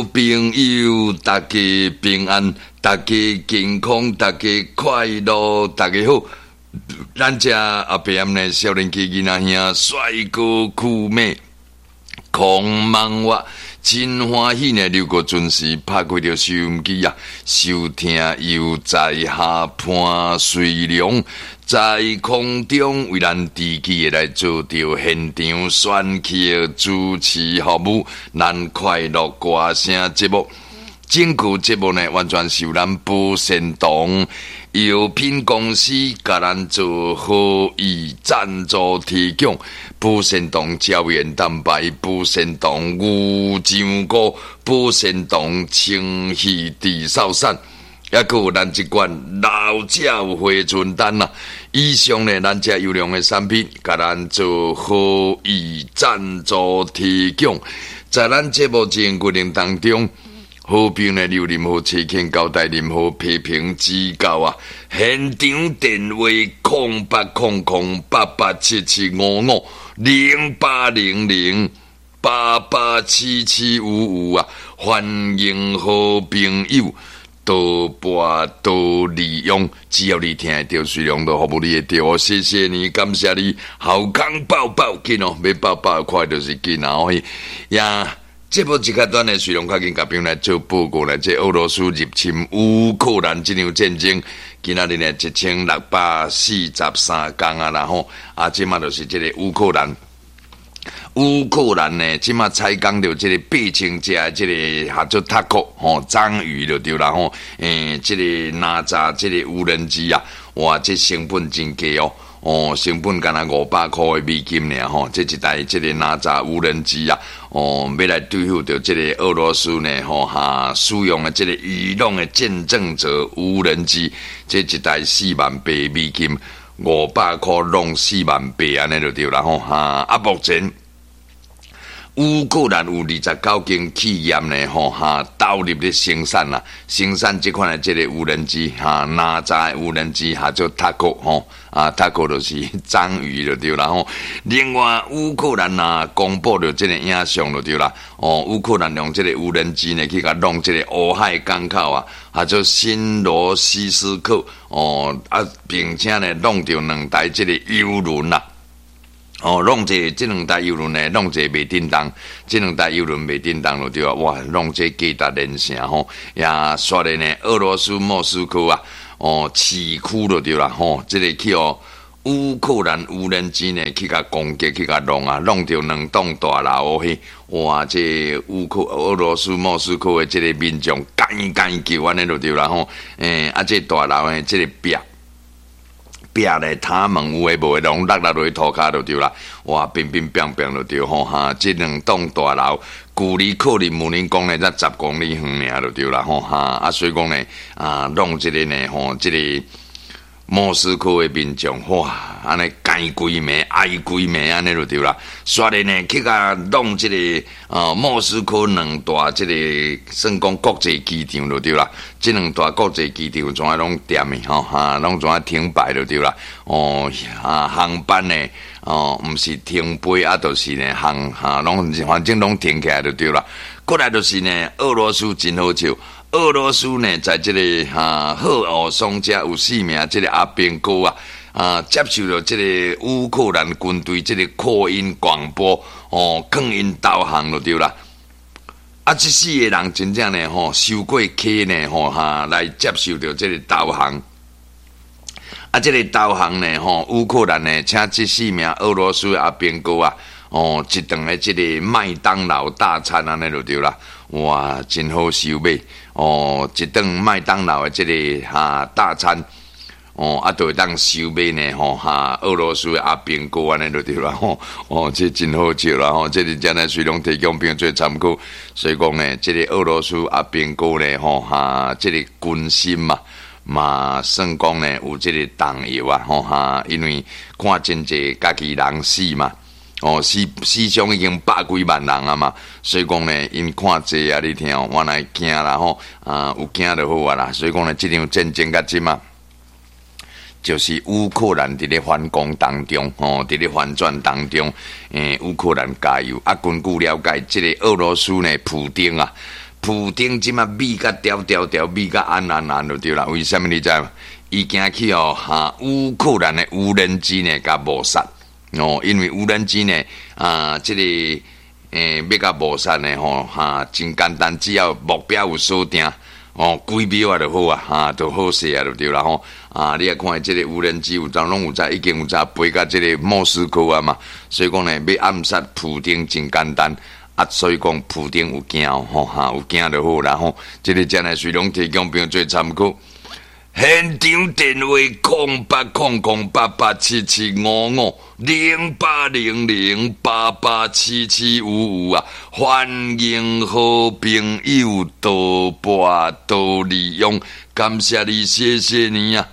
朋友，大家平安，大家健康，大家快樂，大家好。咱遮阿伯暗呢，少年家囡仔兄，帥哥酷妹，空茫我真歡喜呢！劉國準時拍開著收音機啊，收聽悠哉下潘瑞良在空中為咱持續的來做著現場選曲主持服務，咱快樂歌聲節目。整個節目呢，完全是由咱保鮮堂藥品公司共咱做好意贊助提供。保鮮堂膠原蛋白、保鮮堂牛樟菇、保鮮堂清氣治嗽散，抑閣有咱這款老鳥回春丹啊！以上呢，咱遮優良的產品，共咱做好意贊助提供。在咱節目進行過程當中，好朋友呢，有任何意見交代，任何批評指教啊！現場電話08008877550800887755啊！歡迎好朋友多撥多利用，只要你聽會著，隨量都服務你的電話。謝謝你，感謝你，好康報報緊哦，欲報報快就是緊啊！呀。這部這較短的內容，較緊共朋友來做報告咧。這俄羅斯入侵烏克蘭這場戰爭，今仔日呢1643工啊啦吼，啊，這馬就是這個烏克蘭。烏克蘭呢，這馬採講著這個8000隻的這個合做塔克吼，章魚就對啦吼。這個哪吒這個無人機啊，哇，這成本真低哦。哦，成本干焦500箍的美金爾吼，這一台這個哪吒無人機啊，哦，欲來對付著這個俄羅斯呢吼哈，使用的這個伊朗的見證者無人機，這一台4萬8美金，500箍弄4萬8按呢就對啦吼哈，啊，目前烏克蘭有29間企業呢，吼哈，投入咧生產啦，生產這款的這個無人機，哈，哪吒的無人機，哈，做塔克吼，啊，塔克就是章魚就對啦吼。另外，烏克蘭啊，公布著這個影像就對啦，哦，烏克蘭用這個無人機呢去共弄這個烏海港口啊，啊，做新羅西斯克，哦，啊，並且呢弄著兩台這個油輪啦。哦，弄一個這兩台油輪呢，弄一個袂振動，這兩台油輪袂振動就對啊，哇，弄這價值連城吼，也煞咧呢，俄羅斯莫斯科啊，哦，市區就對啦吼，這個去予烏克蘭無人機呢去共攻擊去共弄啊，弄著兩棟大樓去，哇，這烏克俄羅斯莫斯科的這個民眾趕趕叫按呢就對啦吼，啊，這大樓的這個壁。壁咧，塔門有的無的，攏落落落塗跤就對啦。哇，乒乒乓乓就對吼哈。這兩棟大樓距離克里姆林宮呢，才10公里遠爾就對啦吼哈。啊，所以講呢，啊，弄這個呢吼，這個莫斯科的民眾哇，按呢驚規暝，哀規暝，按呢就對啦。煞咧呢，去共弄這個莫斯科兩大這個算講國際機場就對啦。這兩大國際機場全攏恬的吼哈，攏全停擺就對啦。哦，啊，航班呢，哦，毋是停飛啊，就是呢航哈，攏反正攏停起來就對啦。過來就是呢，俄羅斯真好笑。俄羅斯呢，在這個哈赫爾松遮有四名這個阿兵哥啊，啊接受著這個烏克蘭軍隊這個擴音廣播哦，擴音導航就對啦。啊，這四個人真正呢吼，收過卡呢吼哈，來接受著這個導航。啊，這個導航呢吼，烏克蘭呢，請這四名俄羅斯阿兵哥啊，哦，一頓的這個麥當勞大餐按呢就對啦。哇，真好收買哦！一頓麥當勞的這個哈大餐哦，啊，就會當收買呢吼哈，俄羅斯的阿兵哥按呢就對啦吼哦，這真好笑啦吼！這個真的隨攏提供朋友做參考，所以講呢，這個俄羅斯阿兵哥呢吼哈，這個軍心嘛嘛算講呢有這個動搖啊吼哈，因為看真濟家己人死嘛。哦，死死傷已經百幾萬人啊嘛，所以講呢，𪜶看濟啊，你聽哦，原來驚啦吼，啊有驚就好啊啦。所以講呢，這場戰爭到這馬，就是烏克蘭佇咧反攻當中，吼，佇咧反轉當中，烏克蘭加油！啊，根據了解，這個俄羅斯呢，普丁啊，普丁這馬覕甲牢牢牢，覕甲按按按就對啦。為啥物你知無？伊驚去哦，哈，烏克蘭的無人機呢，共謀殺哦，因為無人機呢，啊，這個欲共謀殺呢，吼，哈，真簡單，只要目標有鎖定，哦，幾秒啊就好啊，哈，就好勢啊，就對啦吼。啊，你也看這個無人機有當攏有在，已經有在飛到這個莫斯科啊嘛，所以講呢，欲暗殺普丁真簡單。啊，所以講普丁有驚吼，哈，有驚就好啦吼。這個真係隨攏提供朋友做參考。現場電話0800887755，0800887755啊！歡迎好朋友多撥多利用，感謝你，謝謝你啊！